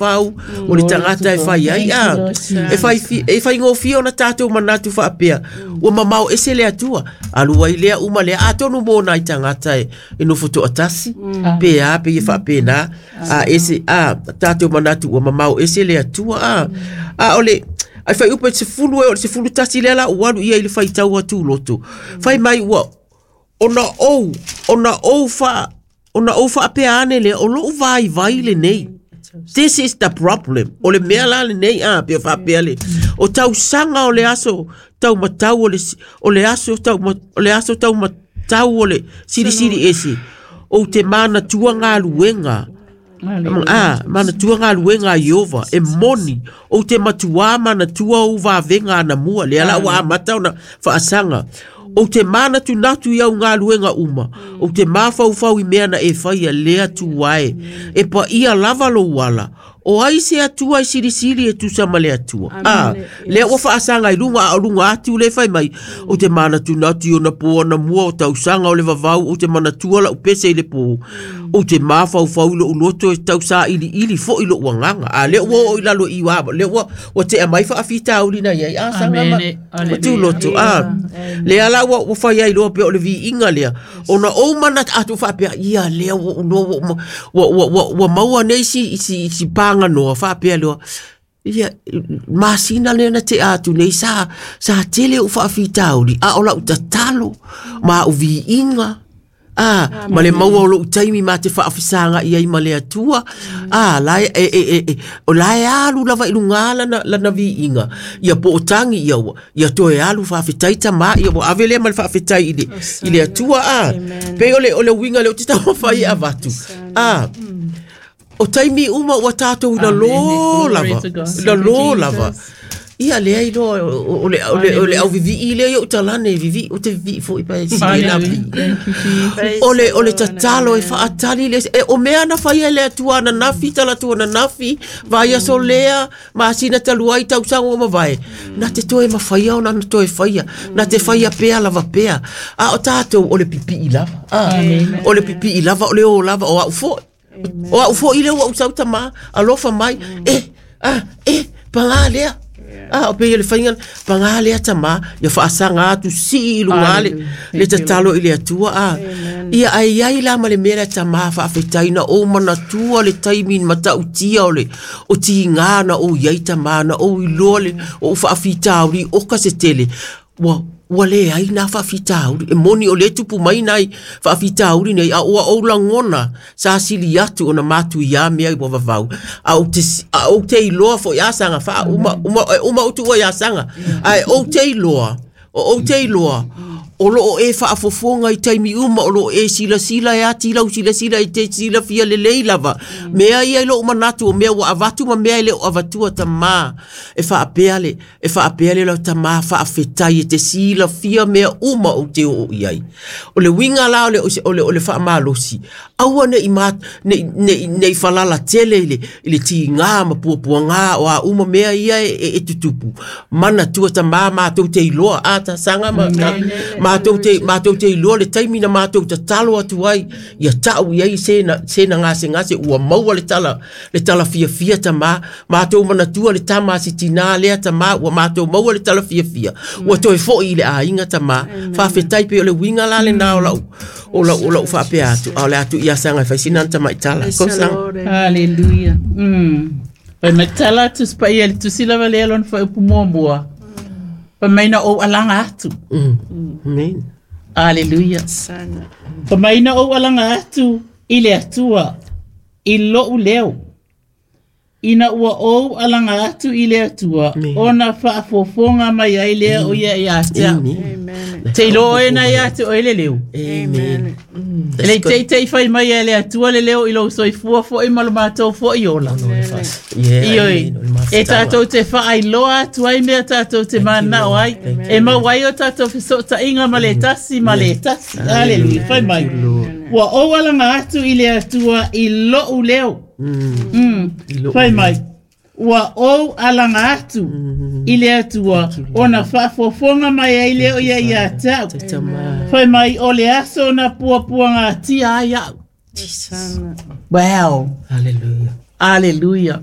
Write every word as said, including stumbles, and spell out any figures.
Pau o le tagata e fai ai a e fai e faigofie ona tatou manatu faapea ua mamao ese le Atua alu ai lea uma lea atonu mo nai tagata e e nofo toatasi pe a pe ia faapena a ese a tatou manatu ua mamao ese le Atua a a o le ai fai upe sefulu e o le sefulu tasi lea la ua alu ia i le faitau atu loto fai mai ua ona ou ona ou fa ona ou faapea ane lea o lou vaivai lenei. This is the problem. O le mea la lenei a pe faapea le o tausaga o le aso taumatau o le o le aso tau o le aso taumatau o le silisili ese ou te manatua galuega a manatua galuega a Ieova e moni ou te matuā manatua ou vavega anamua lea la ua amata ona faasaga ou te manatunatu i au galuega uma ou te mafaufau i mea na e faia le Atua e e paia lava lou ala o ai se Atua e silisili e tusa ma le Atua a lea ua faasaga i luga a o luga atu le fai mai ou te manatunatu i ona pō anamua o tausaga o le vavau ou te manatua lau pese i le pō ou te mafaufau i lou loto e tausailiili foi lou agaga a lea ua oo i lalo i ua lea ua ua tea mai faafitauli na iai a saga ma ma tuloto a lea la ua ua fai ai loa pea o le viiga lea ona ou manatu atu faapea ia lea ua ua ua ua ua ua maua nei si si si paganoa faapea loa ia masina lea na tea atu nei sa sa tele ou faafitauli a o lau tatalo ma au viiga a ma le maua o lou taimi ma te faafesaga i ai ma le Atua a la e e e e o la e alu lava i luga lana lana viiga ia po o tagi ia ua ia toe alu faafetai tamā ia ua ave lea ma le faafetai i le i le Atua a pei o le o le uiga lea ou te taumafai e avatu a o taimi uma ua tatou i lalō lava i lalō lava ia lea iloa o le o le o le auvivii lea i ou talane vivii o te vivii foi pa e sili la vivii o le o le tatalo e faatali le e o mea na faia e le Atua ananafi talaatu ananafi vaiaso lea masina talu ai tausaga ua mavae na te toe mafaia ona na toe faia na te faia pea lava pea a o tatou o le pipii lava a o le pipii lava o le o lava o au foi o au foi lea ua ou sau tamā alofa mai e a e pagā lea a o pei o le faiga pagā lea tamā ia faasaga atu sii i luga le le tatalo i le Atua a ia ai ai la ma le mea lea tamā faafetai na ou manatua le taimi matautia o le o tigā na ou i ai tamā na ou iloa le o ou faafitauli oka se tele ua ua leai nā faafitauli e moni o le tupu mai nai faafitauli nei a ua ou lagona sa sili atu ona matuiā mea ua vavau a ou te a ou te iloa foi a saga faauma uma uma ou tuua iā saga ae ou te iloa o ou te iloa o loo e faafofoga i taimi uma o loo e silasila e ati lau silasila e te silafia lelei lava mea ia i lou manatu o mea ua avatu ma mea e le o avatua tamā e faapea le e faapea le lau tamā faafetai e te silafia mea uma ou te oo i ai o le uiga la o le o le o le faamalosi aua nei ma nei nei nei falala tele i le i le tigā ma puapuagā o a uma mea ia e, e, e tutupu manatua tamā matou te iloa a tasaga ma matou te matou te iloa le taimi na matou tatalo atu ai ia tau i ai se na se na gasegase ua maua le tala le tala fiafia tamā matou manatua le tama a si tinā lea tamā ua matou maua le tala fiafia ua toe foi i le aiga tamā faafetai pei o le uiga la lenā o lau o lau o lau faapea atu a o le atu ia saga e fai sina na tamaitala ko saga. Hallelujah. Mm. Fai mai tala atu se paia i le tusi lava lea lona fuaiupu muamua. Fai mai na ou alaga atu. Mm. Amen. Hallelujah. Fai mai na ou alaga atu i le Atua i lou leo. Ina ua ou alaga atu i le Atua, Amen. ona faafofoga mai ai lea o ia ia te au. Amen. Te iloa oe na ia te oe le leo. Amen. E le teitei fai mai e le Atua le leo i lou soifua foi ma lo matou foi ola. Yeah, Ioi, amen. O le e mafutaga. tatou te faailoa atu ai mea tatou te manao ai. E maua ai o tatou fesootaiga ma le tasi ma le tasi. Hallelujah. Fai mai. Ua ou alaga atu i le Atua i lou leo. Mm. I lou Fai mai. Ua ou alaga atu i le Atua ona faafofoga mai ai lea o ia ia te au. Tamā. Fai mai o le aso na puapuagatia ai au. Jesus. Wow. Hallelujah. Hallelujah.